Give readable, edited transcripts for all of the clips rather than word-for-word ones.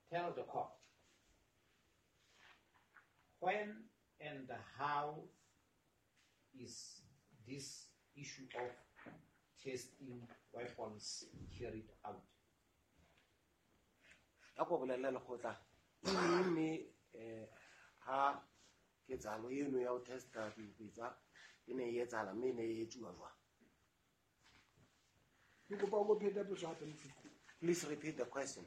Tell the court when and how is this issue of testing weapons carried out? A ko bolelle lekgotla ke eng mme um ha ketsahalo eno ya ho testa dibetsa e ne e etsahala mme e ne e etsuwa jwang? Ke kopa o phete potso hape, mohlomphehhi. Please repeat the question.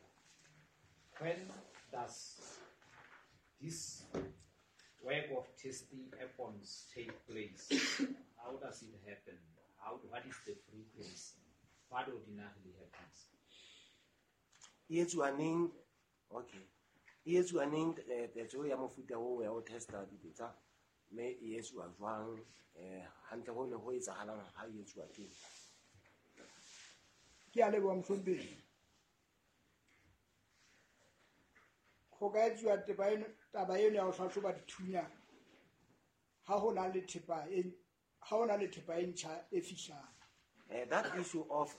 When does this work of testing weapons take place? How does it happen? What is the frequency? What ordinarily happens? E etsuwa neng? Okay. E etsuwa neng tetso ya mofuta oo ya ho testa dibetsa mme e etsuwa jwang? Hantle ho ne ho etsahalang ha e etsuwa teng? Ke a leboha, mohlomphehhi. Ho ka etsuwa taba eno ya ho hlahloba dithunya ha ho na le thepa e ha ho na le thepa e ntjha e fihlang. That issue of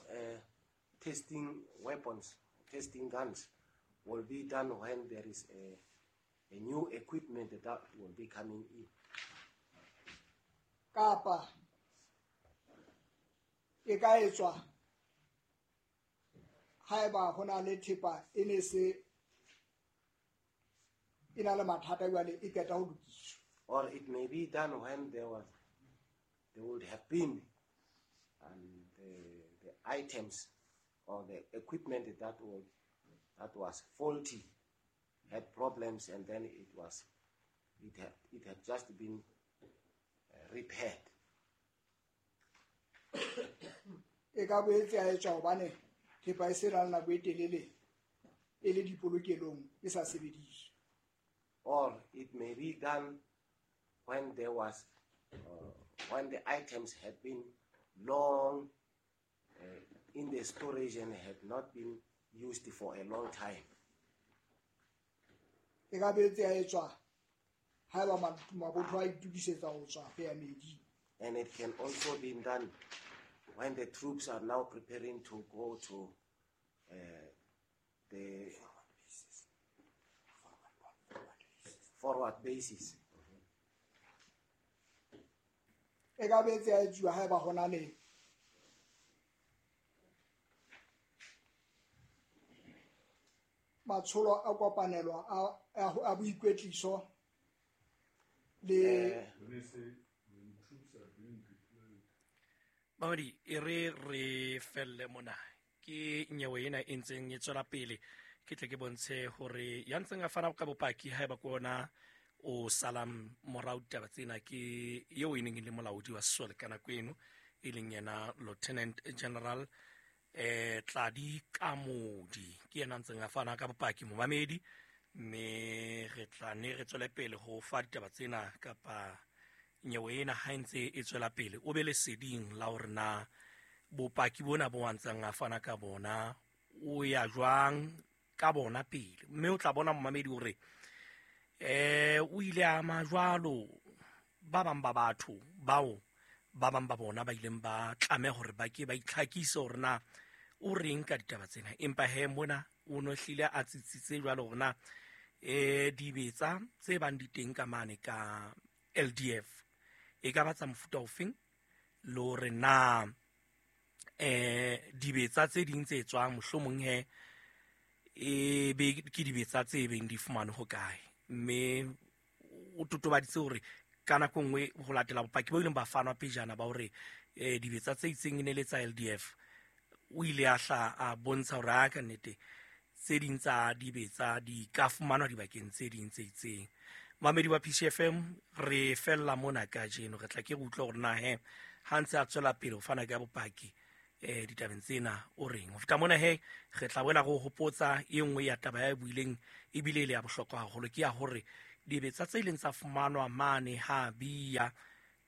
testing weapons, testing guns, will be done when there is a new equipment that will be coming in. Kapa e ka etswa haeba ho na le thepa e ne se e na le mathata jwale e qeta ho lokiswa. Or it may be done when there would have been the items or the equipment that was faulty, had problems, and then it had just been repaired. E ka boetse ya etswa hobane thepa e se na le nako e telele e le dipolokelong e sa sebediswe. Or it may be done when the items had been long in the storage and had not been used for a long time. E ka boetse ya etswa haeba mabotho a itokisetsa ho tswa ho ya meeding. And it can also be done when the troops are now preparing to go to the forward bases. E ka boetse ya etsuwa haeba ho na le matsholo a kopanelo a boikwetliso le Mamedi, e re re felle mona ke nyewe ena e ntseng e tswela pele. Ke tle ke bontshe hore ya ntseng a fana ka bopaki haeba ke ona o salang morao ditaba tsena ke eo e neng e le molaodi wa sesole ka nako eno, e leng yena Lieutenant General Tladi Kamodi. Ke yena ntseng a fana ka bopaki, momamedi, mme re tla ne re tswele pele ho fa ditaba tsena kapa nyewe ena ha e ntse e tswela pele. O be leseding la hore na bopaki bona bo a ntseng a fana ka bona o ya jwang ka bona pele, mme o tla bona, momamedi, hore o ile a ama jwalo ba bang ba batho bao ba bang ba bona ba ileng ba tlameha hore ba ke ba itlhakise hore na o reng ka ditaba tsena. Empa he mona o no hlile a tsitsitse jwalo hore na dibetsa tse bang di teng ka mane ka LDF e ka ba tsa mofuta ofeng, le hore na dibetsa tse ding tse tswang mohlomong he e be ke dibetsa tse beng di fumanwe ho kae. Mme o totobaditse hore ka nako nngwe ho latela bopaki bo ileng ba fanwa pejana ba hore dibetsa tse itseng e ne le tsa LDF, o ile a hla a bontsha hore a ka nnete tse ding tsa dibetsa di ka fumanwa dibakeng tse ding tse itseng. Mamedi wa PCFM, re fella mona kajeno. Re tla ke re utlwe hore na he ha ntse a tswela pele ho fana ka bopaki ditabeng tsena o reng. Ho feta mona he re tla boela re o hopotsa e nngwe ya taba ya e buileng ebile e le ya bohlokwa haholo, ke ya hore dibetsa tse ileng tsa fumanwa mane ha bia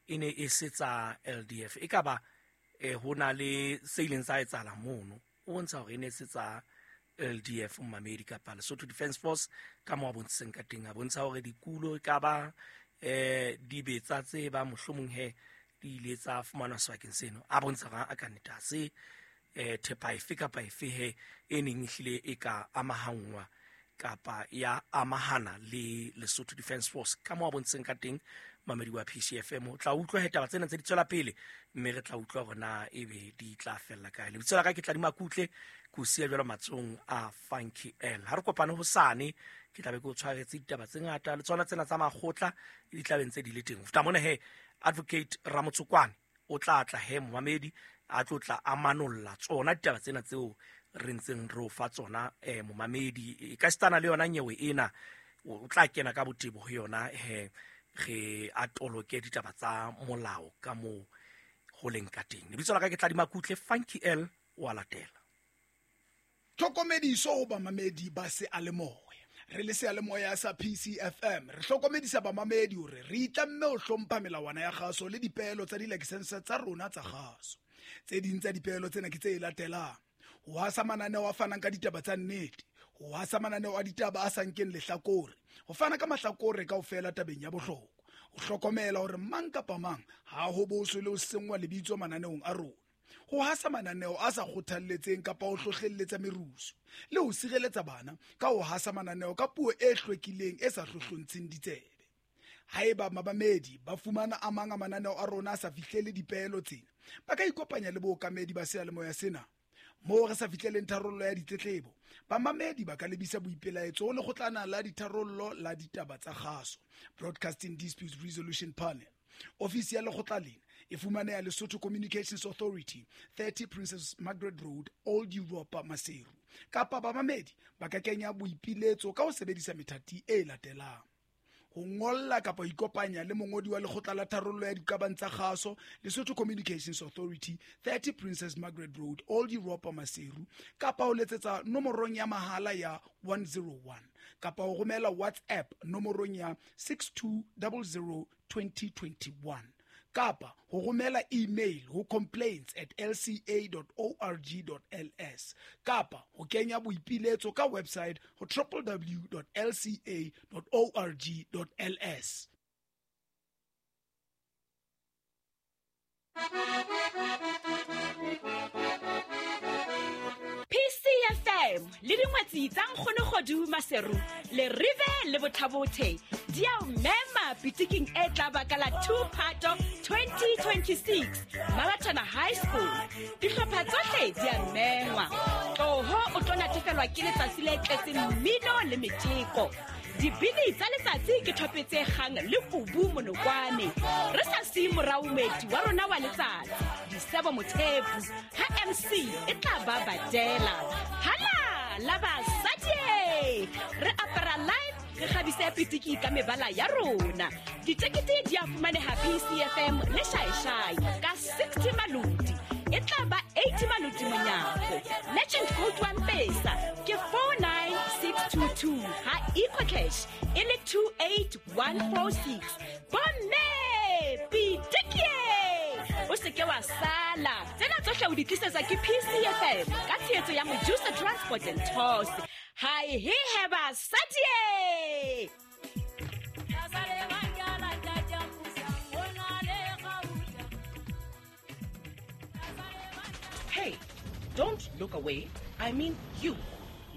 e ne e se tsa LDF. E ka ba ho na le se ileng sa etsahala mono, o bontsha hore e ne se tsa LDF, mmamedi, kapa Lesotho Defence Force ka mo a bontshitseng ka teng. A bontsha hore dikulo e ka ba dibetsa tse ba mohlomong he di ile tsa fumanwa sebakeng seno. A bontsha hore a ka nnete ha se thepa efe kapa efe he e neng ehlile e ka amahanngwa. kapa ya amahana le Lesotho Defence Force ka mo a bontseng ka teng mamedi wa PCFM. O tla utlwa he taba tsena tse di tswela pele, mme re tla utlwa hore na ebe di tla fella kae. Lebitso la ka ke Tladima Kutle, ke o siya jwalo matsohong a Funky L. Ha re kopane hosane, ke tla be ke o tshwaretse ditaba tse ngata le tsona tsena tsa makgotla di tla be ntse di le teng. Ho feta mona he, Advocate Ramotsokwane o tla tla he momamedi a tlo tla a manolla tsona ditaba tsena tseo re ntseng re o fa tsona momamedi. E ka sitana le yona nyewe ena, o tla kena ka botebo ho yona he, re a toloke ditaba tsa molao ka moo ho leng ka teng. Lebitso la ka ke Tladima Kutle, Funky L o a latela. Tlhokomediso ho bamamedi ba seyalemoya. Re le seyalemoya sa PCFM, re hlokomedisa bamamedi hore re itlamme ho hlompha melawana ya kgaso le dipeelo tsa dilakesense tsa rona tsa kgaso. Tse ding tsa dipeelo tsena ke tse latelang: ho hasa mananeo a fanang ka ditaba tsa nnete, ho hasa mananeo a ditaba a sa nkeng lehlakore, ho fana ka mahlakore kaofela tabeng ya bohlokwa, ho hlokomela hore mang kapa mang ha ho boswe le ho senngwa lebitso mananeong a rona, ho hasa mananeo a sa kgothalletseng kapa ho hlohlelletsa merusu, le ho sireletsa bana ka ho hasa mananeo ka puo e hlwekileng e sa hlohlontsheng ditsebe. Haeba mamamedi ba fumana a mang a mananeo a rona a sa fihlele dipeelo tsena, ba ka ikopanya le bookamedi ba seyalemoya sena. Moo re sa fihleleng tharollo ya ditletlebo, bamamedi ba ka lebisa boipelaetso ho lekgotlana la ditharollo la ditaba tsa kgaso, Broadcasting Disputes Resolution Panel. Ofisi ya lekgotla lena e fumaneha Lesotho Communications Authority, 30 Princess Margaret Road, Old Europa, Maseru. Kapa bamamedi ba ka kenya boipiletso ka ho sebedisa methati e latelang: ho ngolla kapa ho ikopanya le mongodi wa lekgotla la tharollo ya diqabang tsa kgaso, Lesotho Communications Authority, 30 Princess Margaret Road, Old Europa, Maseru, kapa ho letsetsa nomorong ya mahala ya 101, kapa ho romela WhatsApp nomorong ya 6200 2021, kapa ho romela email ho complaints@lca.org.ls, kapa ho kenya boipiletso ka website ho www.lca.org.ls. PCFM le dingwetsi tsa Nkgonogodu Maseru le Rive le Bothabothe di a o mema pitiking e tla baka la 2 Phato 2026 Mabatana High School. Dihlopha tsohle di a mengwa. Tloho o tlo natefelwa ke letsatsi le tletseng mmino le metjeko. Dibini tsa letsatsi ke thope tse kgang le kubu monokwane. Re sa siye morao moeti wa rona wa letsatsi, Disebo Mothepu, ha MC e tla ba badela. Hala la basadi, re apara live, re kgabise pitiki ka mebala ya rona. Ditekete di a fumaneha PCFM le Shaishai ka 60 maloti. E tla ba 80 maloti monyako. Legend code wa Mpesa ke 49622, ha EcoCash e le 28146. Bomme pitiki, o se ke wa sala. Tsena tsohle o di tlisetsa ke PCFM ka tshehetso ya Mojusa Transport and Tours. Hai he he basadi. Hey, don't look away. I mean you.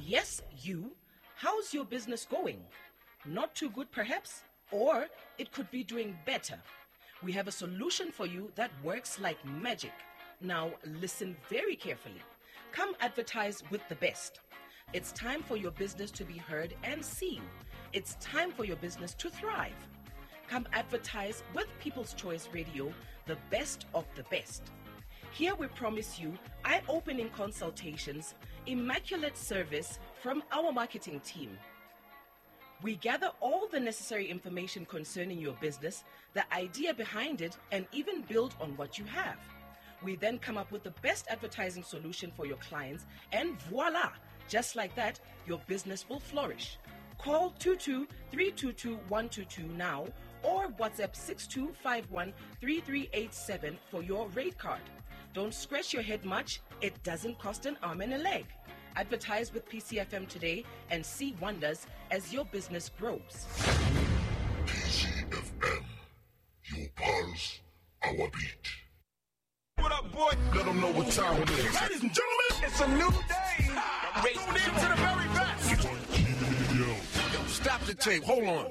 Yes, you. How's your business going? Not too good, perhaps? Or it could be doing better. We have a solution for you that works like magic. Now, listen very carefully. Come advertise with the best. It's time for your business to be heard and seen. It's time for your business to thrive. Come advertise with People's Choice Radio, the best of the best. Here we promise you eye-opening consultations, immaculate service from our marketing team. We gather all the necessary information concerning your business, the idea behind it, and even build on what you have. We then come up with the best advertising solution for your clients, and voila! Just like that, your business will flourish. Call 22-322-122 now or WhatsApp 6251-3387 for your rate card. Don't scratch your head much. It doesn't cost an arm and a leg. Advertise with PCFM today and see wonders as your business grows. PCFM, your pulse, our beat. What up, boy? Let them know what time it is. Ladies and gentlemen, it's a new day. Tune in to the very best. Stop the tape. Hold on.